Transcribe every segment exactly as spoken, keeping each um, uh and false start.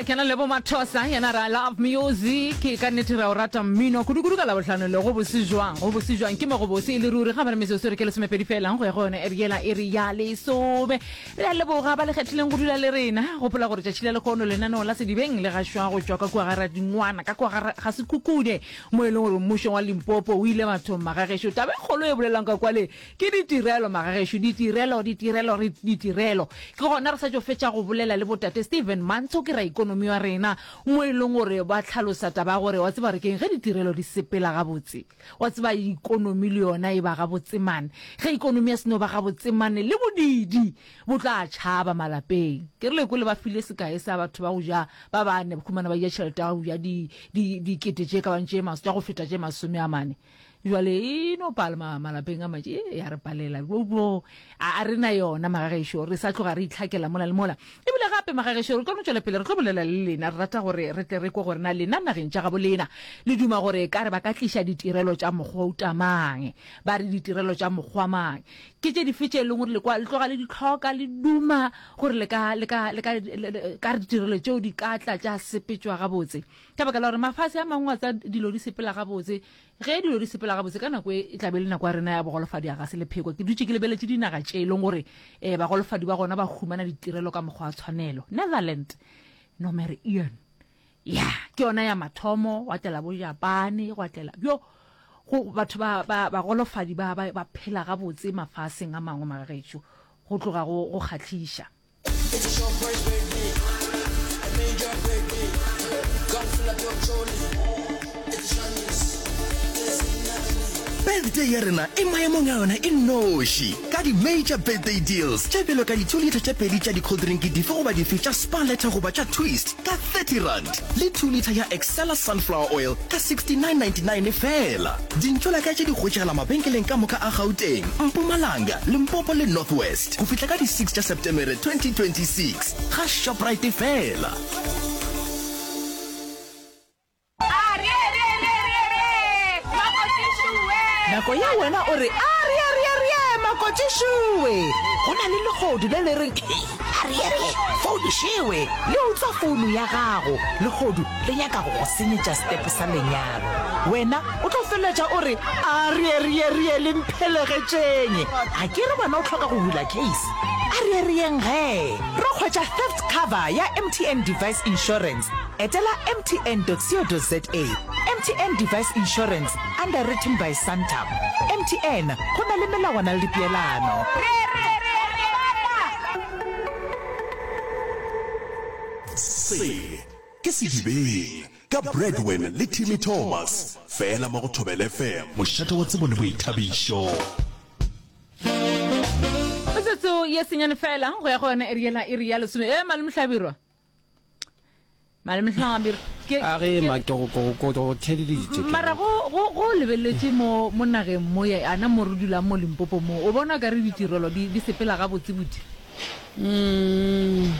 Ya ke na le bo Mathosa yena re I love music ka nnete re a o rata mmino kudu-kudu ka Labohlano le go bose jwang go bose jwang ke mo go bose e le ruri ga ba re metsotso re ke lesomepedi fela go ya go yone eri yela iri ya lesome re a leboga ba le kgethileng go dula le rena gopola gore tšatši la lekgono lenaneo la sedibeng le gašwa go tšwa ka kua ga Radingwana ka kua ga ga Sekhukhune mo e leng gore mmušong wa Limpopo o ile bathong magagešo taba e kgolo e bolelang ka kwale ke ditirelo magagešo ditirelo ditirelo re ditirelo ke gona re sa tšo fetša go bolela le botate Steven Mantsho ke raikonomi wa rena mo e leng gore ba hlalosa taba ya gore wa tseba re keng ge ditirelo di sepela gabotse wa tseba ikonomi le yona e ba gabotse mane ge ikonomi ya seno ba gabotse mane le bodidi bo tla tšhaba malapeng ke rile kole ba file sekae sa batho ba go ja ba bane ba khumana ba ja tšhelete ya go ja di di dikete tše ka bang tše mas tša go feta tše masome a mane jwale e no pala ma- malapeng a mantši e ya re palela bo bo a a re na yona magagešo re sa tloga re itlhakela mola le mola ebile gape magagešo re tlo no tšwela pele re tlo bolela le lena re rata gore re tle re kwe gore na lena nageng tša gabo lena le duma gore ka re ba ka tliša ditirelo tša mokgwa o tamang ba re ditirelo tša mokgwa mang ke tše dife tše e leng gore le kwa le tloga le di tlhoka le duma gore le ka le ka le ka le- le- ka re ditirelo tšeo di ka tla tša sepetšwa gabotse ka baka la gore mafase a mangwe a tsa dilo di sepela gabotse ge dilo di sepela gabotse ka nako e e tla be le nako ya rena ya bogolofadi a ga se lepheko ke dutše ke lebeletše dinaga tše e leng gore um bagolofadi ba gona ba humana ditirelo ka mokgwa wa tshwanelo Netherland nomere een ya ke yona ya mathomo gwa tlela bo Japane gwa tlela bjo go batho ba ba bagolofadi ba ba ba phela gabotse mafaseng a mangwe magagešo go tloga go go kgahliša It's a short break, baby. A major baby. Gun full of your trolley. It's Chinese. Birthday ya rena e maemong a yona e nnoši ka di-major birthday deals tše bjalo ka di-two litre tše pedi tša di-cold drink dife goba dife tša Spar Letter goba tša Twist ka thirty rand le two litre ya Excella sunflower oil ka sixty-nine ninety-nine fela. Dintšolaka tše di hwetšagala mabenkeleng ka moka a Gauteng, Mpumalanga, Limpopo le North West go fihla ka di-six tša Septemere twenty twenty-six ga Shoprite fela. Nako ya wena o re areareare makotšišowe go na le legodu le le reng areare founišewe le utswa founu ya gago legodu le nyaka go go senyetša stepe sa lenyalo wena o tlo feleletša o re areareare le mphelegetšeng a ke re wena o tlhoka go bula case areareyeng ge re hwetša theft cover ya M T N device insurance etela M T N dot co dot za. M T N device insurance underwritten by Santam. M T N go na le melawana le dipeelano. Se ke Sedibeng ka Bradwin le Timmy Thomas fela mo go Thobela F M, mošate wa tsebo le boithabišo. Metsotso ye senyane fela go ya go yona iri yela iri ya lesome e malome Hlabirwa malome Hlabirwa ke a ge ma ke go go go go theleditše ke mara go go go lebeletše mo mo nageng mo ya ana mo re dulang mo Limpopo mo o bona ka re ditirelo di di sepela gabotse botse? Mm,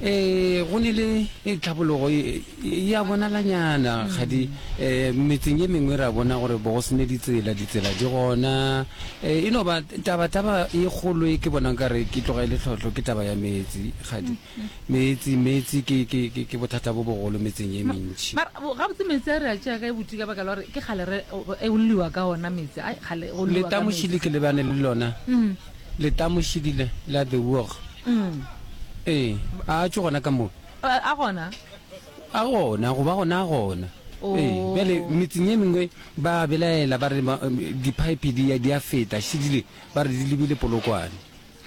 eh go ne le e tlhabologo e e ya bonalanyana gadi eh metseng ye mengwe ra bona gore bo go sene ditsela ditsela di gona eh e no ba taba taba e kgolo e ke bonang ka re ke tloga e le tlhotlho ke taba ya metsi gadi metsi metsi ke ke ke ke bothata bo bogolo metseng ye mentši. Mara bo- gabotse metsi a re a tšea kae botse ka baka la gore ke kgale re e o lliwa ka ona metsi ai kgale go lliwa ka Letamošile metsi ke lebane le lona Mm, letamošidile la the work mm. Ee a tšo gona ka mo A a gona a gona go ba gona a gona ee bjale o metseng ye mengwe ba belaela ba re ma- di-pipe di ya di a feta šidile ba re di lebile Polokwane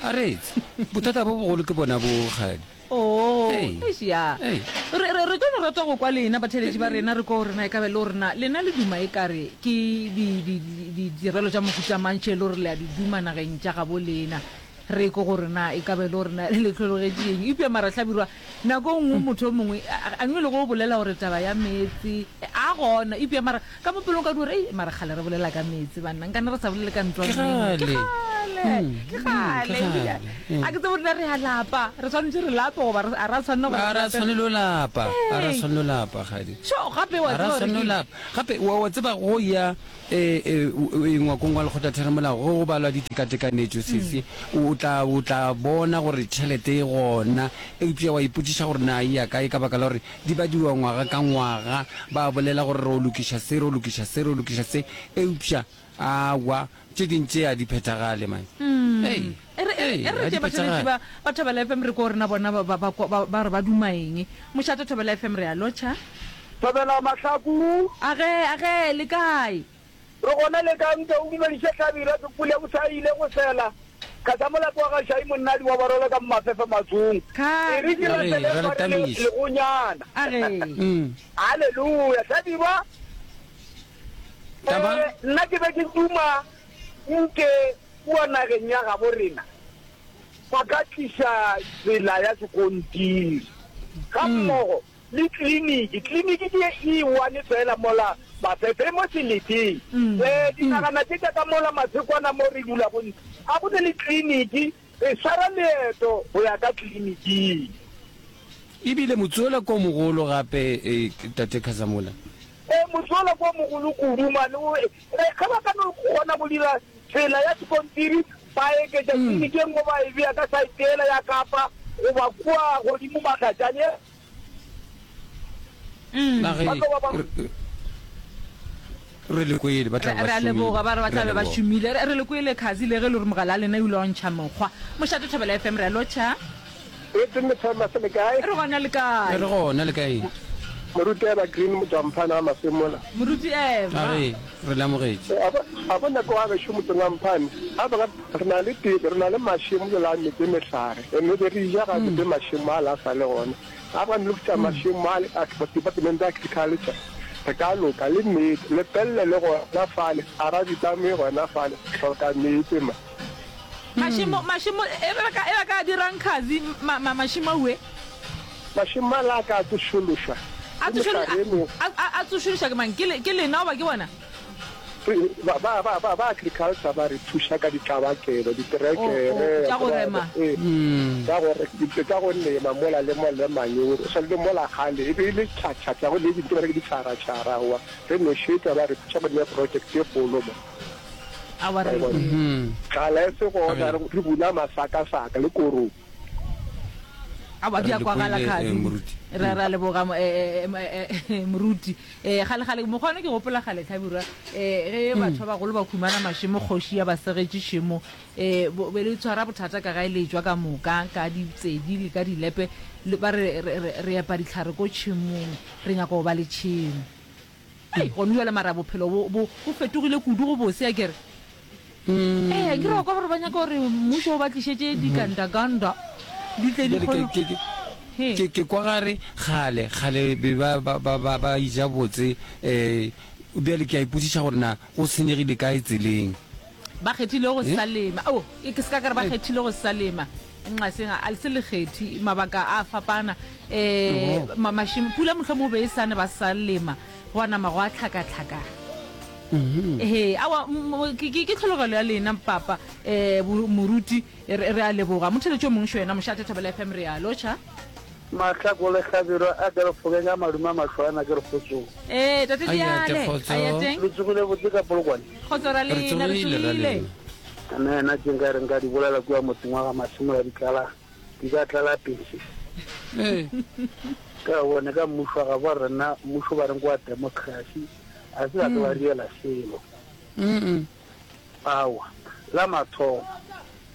a retse bothata bo bogolo ke bona bo gadi Oh, ee eish ya ee re re re tlo no rata go kwa lena batheletši ba rena re ko rena e ka be le gore na lena le duma e kare ke di di di ditirelo tša mohuta mang tše e le gore le a di duma nageng tša gabo lena re ko gore na e ka be le gore na le tlhologetše eng eupša mara Hlabirwa nako e nngwe motho o mongwe a nngwe le go bolela gore taba ya meetse a gona eupša mara ka mo pelong ka di gore ei mara kgale re bolela ka meetse banna nkane re sa bolele ka ke ntlwaneng ke gale kgale. Kgale, ke kgale. A ke tsebe rena re a lapa, re swanetše re lape goba a ra tshwanela gore A ra tshwanelo lapa, a ra tshwanelo lapa kgadi. Sho, gape wa A ra tseba gore tshwanelo ke lapa. Gape wa wa tseba go ya e e e ngwakong wa lekgotlatheramolao ge go balwa ditekatekanetšo sesi, o tla o tla bona gore tšhelete e gona, eupša wa ipotšiša gore na e ya kae ka baka la gore di badiwa ngwaga ka ngwaga, ba bolela gore ro lokiša se, ro lokiša se, ro lokiša se, eupša aowa tše ding tše a di phethagale man. Ei, E re, e re, ei, e re a re di tše batheeletši phethagale. ba, ba Thobela F M re ko rena bona ba, ba, ba, ba, ba re ba duma eng. Mošate Thobela F M re a lotšha. Thobela Mahlaku. Age, age, le kae? Re gona le ka nke o dumediše Hlabirwa ke pula bo sa ile go sela. Kasa molato wa ga Shai monnadi wa Barolo ka Mmafefe Matsong. E re ke Age, rapele ra le fa re le tamiša. legonyana. Age. Haleluya. Hlabirwa, Taba? eh, nna ke be ke duma nke kua nageng ya gabo rena ba ka tliša tsela ya sekontiri ga mmogo le tleliniki. Tleliniki ke e one fela mola Mafefe e mo seleteng. Eh, dinagana tše tša ka mola Mathekwana mo re dulago ntle, ga go ne le tleliniki, re swara leeto go ya ka tleliniking. Ebile motse wola ko mogolo gape, eh, Tate Khazamola. Eh, motse wola ko mogolo kudu, mane o, eh, ge ba ka no kgona go dira tsela ya sekontiri, ba eketša tleliniki e nngwe ba e bea ka saete yela ya Kapa goba kua godimo Mahlatšane, Na ge ba tlo ba ba. re le kwele ba tla Re ba re a šomile, leboga, ba re ba re tla a be ba leboga. šomile. Re re le kwele Khazi le ge e le gore mogala a lena o ile wa ntšha mokgwa. Mošate Thobela F M re a lotšha. Etse Methema se le kae? Re gona le kae? Re gona le kae? Moruti Eva Green Motswamphane wa Masemola. Moruti Eva. A re re le amogetše. A bo a bona ko ga gešo motseng wa Mphane, a ba re na le tebe, re na le mašemo jalo a metse mehlare, ene be re ja ga botse mašemo a la sa le gona. A ba lokisa mašemo a a department ya agriculture, re ka loka le meetse, lepelle le gona fale, a ra ditame gona fale, hloka meetse ma. Mašemo, mašemo, e ba ka, e ba ka dirang Khazi, ma, ma, mašemo aue? Mašemo a la ka a tsošološwa A ke tsošolo, mehlare e mengwe. a, a, a tsošološwa ke mang? Ke le, ke lena goba ke bona? Re, ba, ba, ba, ba, ba agriculture ba re thuša ka ditlabakelo, Oh, oh, diterekere, tša go ba, rema. ee, tša go re, tša go lema mola le mola le manyoro. O swane le mola kgale e be e le tšhatšhatša, go le dintho ba re ke ditšharatšhara, aowa, re nošetša, ba re thuša go nea project e kgolo mo. Aowa, Wa re e bona? kwele. Tlala e se gona, re, re buna masakasaka le korong. Aowa, di Re a le kwagala, kwele, eh, Khazi. moruti. Re, re a leboga, mo- eh, eh, eh, eh, moruti. Eh, kgale, kgale, mokgwa ono ke gopola kgale, Hlabirwa, eh, ge batho ba bagolo ba khumana mašemo, kgoši ya ba segetše šemo, eh, bo, be le tshwara bothata ka gae le etšwa ka moka, ka ditsedi le ka dilepe, le, ba re, re, re, re epa dihlare ko tšhemong, re nyaka go ba le tšhemo. Hei, gone bjale mara bophelo bo, bo, bo fetogile kudu go bose, akere? Ee, ke re wa kwa gore ba nyaka gore mmušo o ba tlišetše dikandakanda di tle di Bjale ke, kgone. ke, ke, He. ke, ke kwa gare kgale, kgale be ba, ba, ba, ba, ba eja botse, eh, bjale ke a ipotšiša gore na go senyegile kae tseleng. Ba kgethile go Eh? sa lema. Oh, e ke se ka ka re ba Eh. kgethile go sa lema. Nqaseng a le se lekgethi, mabaka a fapana. Eh, Oho. ma, mašemo, pula mohlomong o be e sa ne ba sa lema, gwa nama gwa tlhakatlhakana. Ee, aowa, m- m- ke, ke, ke tlhologelo ya lena, papa, eh, bo- moruti, re, re a leboga. Motheletši o mongwe šo yena, Mošate Thobela F M, re a lotšha. Mahlako le Hlabirwa a ke re fokeng a madume a mahlwana ke re kgotsong. Ee, tate Ayate, Diale, kgotso. ayateng. Le tsogile botse ka Polokwane? Kgotso ra Re lena, re tsogile ra tsogile. lena. Nna ena tše nka re nka di bolela kua motseng wa ga Masemola di tlala, di ka tlala pese. Ee. Ka bone ka mmušo wa gabo rena, mmušo ba reng ke wa democracy, a se ba ke ba riela selo. Mm-mm. Aowa, la mathomo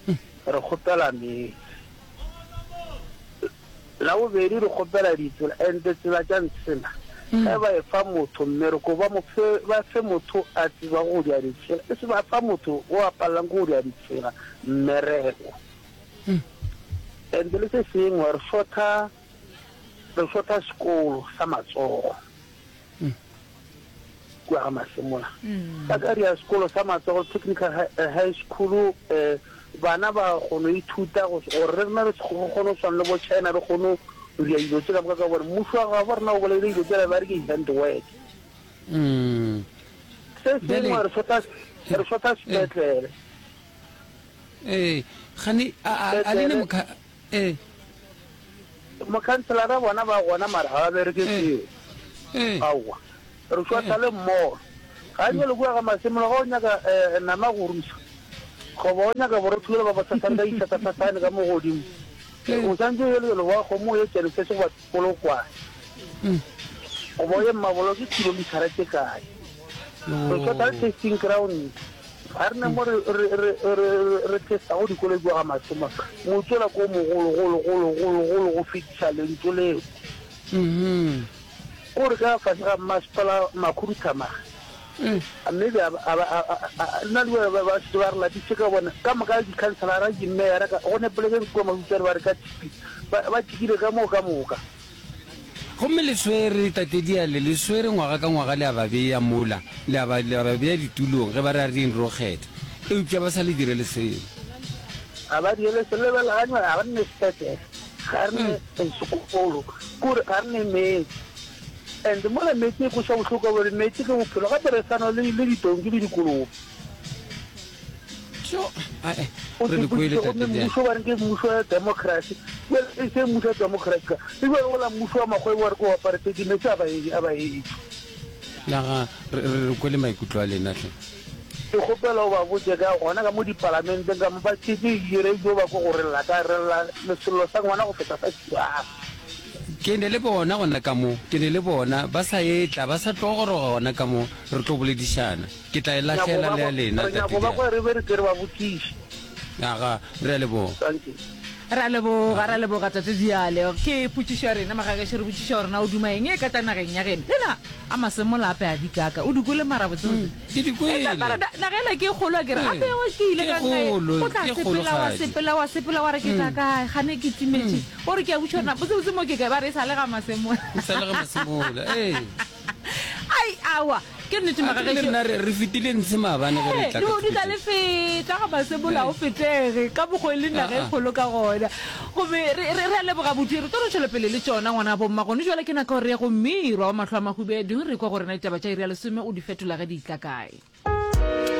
re kgopela meetse, la bobedi re kgopela ditsela, ente tsela tša ntshena ge ba e fa motho mmereko ba mo fe, ba fe motho a tsebago go dia ditsela, e se ba fa motho o a palelang ke go dia ditsela mmereko. Ente le se sengwe re shota, re shota sekolo sa matsogo kua ga Masemola. Ba ka ria sekolo sa matsogo, technical high, eh, high school, eh, bana ba kgone go ithuta go gore re rena re kgone go swana le bo China, re kgone go ria dilo tše ka moka, ka gore mmušo wa gabo rena o bolaile dilo tšela ba re ke hand work. Mm. Se Bjale sengwe re shota, re shota sepetlele. Ee, gane a a a le ne mokha ee. Mokhanselara bona ba gona mara ga ba bereke selo. Ee. Aowa. Re šwatha le mmogo. Ga bjale kua ga Masemola ga o nyaka nama go rusa goba o nyaka borotho bjalo ba bosasane ka dithathasasane ka mo godimo, o santse o ye lebelo wa kgomo o ye Genesis goba Polokwane goba o ye Mmabolo ke kilomithara tše kae. Re šwatha le testing ground. Ga re na mo re, re, re, re, re testago dikoloi kua ga Masemola. Motse ola ke o mogolo, golo, golo, golo, golo go fetiša lentšu leo. O re ka fase ga mmasepala makhuduthamaga, mme be a, a, a, a, a, nna le ba, ba, ba šetše ba re lapišitše ka bona. Ka moka dikhanselara, dimeyara, ka, go ne polekeng kua Mabitswane ba re ka tshipi, ba, ba tšikile ka moo ka moka. Gomme le swere, Tate Diale, le swere ngwaga ka ngwaga le a ba bea mola, le a ba, le a ba bea ditulong ge ba re a re yeng re yo kgetha. Eupša ba sa le direle selo. Ga ba direle selo. Lebelelanywa, ga re ne sepetlele, ga re ne sekolo, kore ga re ne meetse. And mola meetse e kweša bohloko ka gore meetse ke bophelo, gape re sa nwa le, le ditonki le dikolobe. Tjo, ae, O re le kwele, se gomme Tate Diale. mmušo ba re ke mmušo wa democracy, bjale e se mmušo wa democracy ka, e bjale wola mmušo wa makgwebo wa re ke wa apartheid, meetse a ba e, a ba etšwe. Naga, re, re, re kwele maikutlo a lena hle. Ke kgopela o ba botše ka gona ka mo dipalamenteng ka mo ba tšhetše di-radio ba kwe go re lla ka re lla le sello sa ngwana go feta sa tšhiwana. Ke ne le bona gona ka mo, ke ne le bona ba sa etla, ba sa tlo goroga gona ka mo, re tlo boledišana. Ke tla e Nyako lahlela ba le ya kwa, lena, re Tate nyako ba Diale. kwa re be re tle re ba botšiše. Aga, re a leboga. Dankie. Re a leboga, re a leboga, Tate Diale. Ke potšišo ya rena, magagešo, re botšiša gore na o duma eng e ka tla nageng ya geno. Lena, a masemola ape a di kaka. O di kwele mara botsebotse? Ke di kwele. Eupša mara na, naga ela ke e kgolo akere? Ee, Ape wa ke ile ke ka nna e, kgolo, o tla ke sepela, wa kgologadi. sepela, wa sepela, wa re ke tla kae, gane ke timetše. O re ke a botšiša gore na botsebotse mo ke kae, ba re e sa le ga Masemola. E sa le ga Masemola, ee. Ai, aowa, ke nnete A ke re le magagešo. rena re, re fetile ntshe maabane ge re Ee, tla le ka o dutla le Thukutšeng. feta ga Masemola Ee. o fetege, ka mokgo e le naga e Aa. kgolo ka gona. Gomme re, re, re a leboga buti, re tlo no tšwela pele le tšona ngwana bomma. Gone jwale ke nako ya gore re ye go Mmirwa wa mahlo a mahubedu, re kwa gore na ditaba tša iri ya lesome o di fetola ge di tla kae.